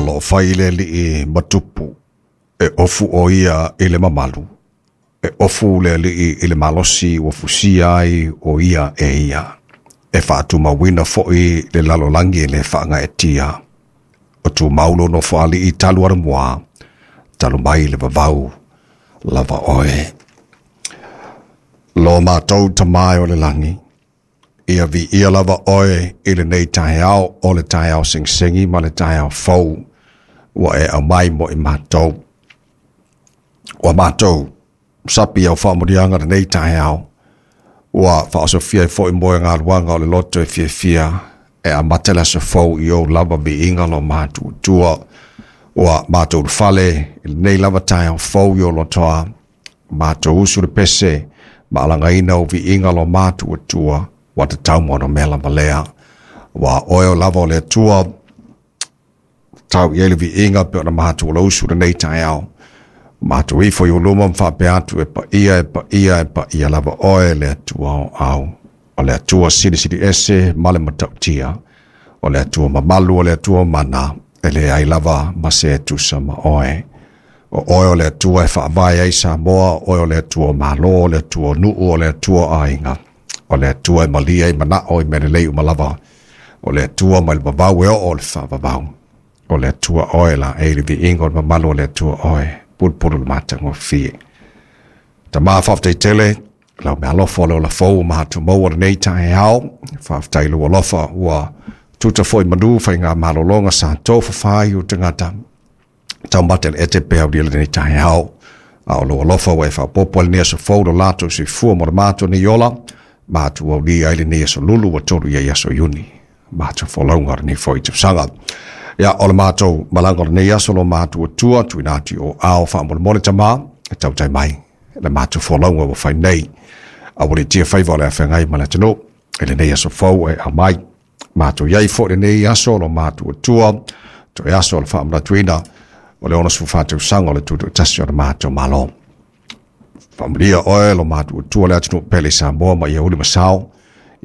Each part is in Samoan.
O loo fai le alii ma tupu, e ofu o ia i le mamalu, e ofu le alii i le malosi ua fusia ai o ia e ia, e faatumauina foi le lalolagi e le faagaeetia. O tumau lou nofoalii talu anamua, talu mai le vavau lava oe. Lo matou Tama e o le lagi, ia viia lava oe i lenei taeao o le taeao segisegi ma le taeao fou ua e aumai mo i matou. Ua matou sapi au faamanuiaga lenei taeao, ua faaosofia ai foi mo e galuaga o le loto e fiafia e amata le aso fou i ou lava viiga lo matuatua. Ua matou ulufale i lenei lava taeao fou i ou lotoa, matou usu le pese ma alagaina o viiga lo matuatua, ua tatau mo ona mea lava lea. Ua oe o lava o le Atua, tau i ai le viiga pe ona matou lausu lenei taeao. Matou ifo i ou luma ma faapea atu e paia, e paia, e paia lava oe le Atua o au. O le Atua silisili ese ma le matautia. O le Atua mamalu, o le Atua mana, e leai lava ma se tusa ma oe. O oe o le Atua e faavae ai Samoa, o oe o le Atua malo, o le Atua nuu, o le Atua aiga. O le Atua e malia i manao i mea lelei uma lava. O le Atua mai le vavau e oo o le faavavau. O le Atua oe la e le viiga o le mamalu o le Atua oe, pulupulu le matagofie. Tama faafetai tele, lau meaalofa o le ola fou ua matou maua lenei taeao. Faafetai lou alofa ua tuta foi manu faiga malologa sa tofafa ai o tagata. Taumate le ete pe aulia lenei taeao. A o lou alofa ua e faaopoopo ai lenei aso fou lo latou soifua mo le matou nei ola, matou aulia ai lenei aso lulu ua 3 i ai aso Iuni. Matou folauga o lenei foi tausaga. Ia, o le matou malaga o lenei aso lo matou atua, tuuina atu i o ao faamolemole tama, e tautai mai le matou folauga ua fai nei. A ua letia faiva o le afeagai ma le atunuu, i lenei aso fou e aumai. Matou iai foi lenei aso lo matou atua, toe aso o le faamanatuina o le 64 tausaga o le tutoatasi o le matou Malo. Faamanuia oe lo matou atua le atunuu pele i Samoa ma ia uli masao,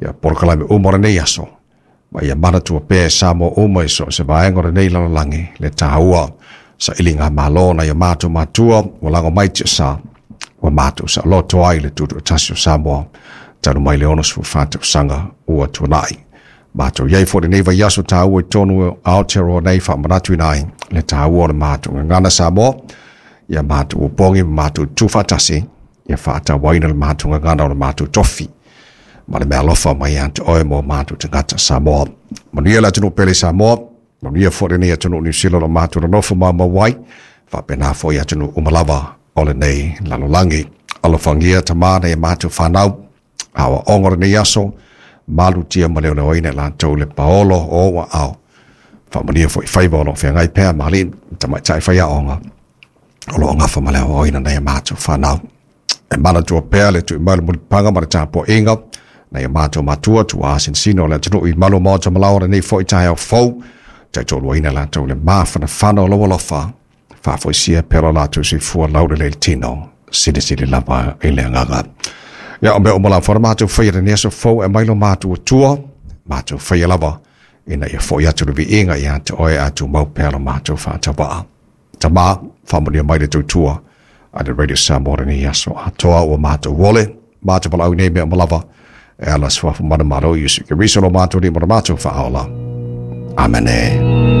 ia polokalame uma o lenei aso, ma ia manatua pea e Samoa uma i so o se vaega o lenei lalolagi le taua sailiga malo na ia matou matua ua lago mai tiasa, ua matou saoloto ai le tutoatasi o Samoa, talu mai le 64 tausaga ua tuanai. Matou iai foi lenei vaiaso taua i totonu o Aotearoa nei faamanatuina ai le taua o le matou gagana Samoa, ia matou opogi ma matou tuufaatasi, ia faatauaina le matou gagana o le matou tofi ma le meaalofa mai ia te oe mo matou tagata Samoa. Manuia le atunuu pele i Samoa, manuia foi lenei atunuu Niu Sila o lo matou nonofo maumau ai, faapena foi atunuu uma lava o lenei lalolagi. Alofagia tama nai a matou fanau, aoaoga o lenei aso, malutia ma leoleoina i latou le paolo o ou aao. Faamanuia foi faiva o loo feagai pea ma alii tamaitai faiaoga o loo gafa ma le aoaoina nai a matou fanau. E manatua pea le tui mai o le mulipapaga ma le tapuaiga nai a matou matua tuaa sinosino o le atunuu i malu o maota ma laoa lenei foi taeao fou, taitoaluaina latou le mafanafana o lou alofa, faafoisia pea lo latou soifua laulelei le tino, silisili lava i le agaga. Ia, o mea uma lava na matou faia lenei aso fou e aumai lo matou Atua, matou faia lava ina ia foi atu le viiga ia te oe a tumau pea lo matou faatauvaa. Tama, faamanuia mai le tautua a le Radio Samoa lenei aso atoa ua matou ole, matou valaau nei mea uma lava, e ala suafa mana malo Iesu Keriso lo matou lima lo matou faaola. Amene.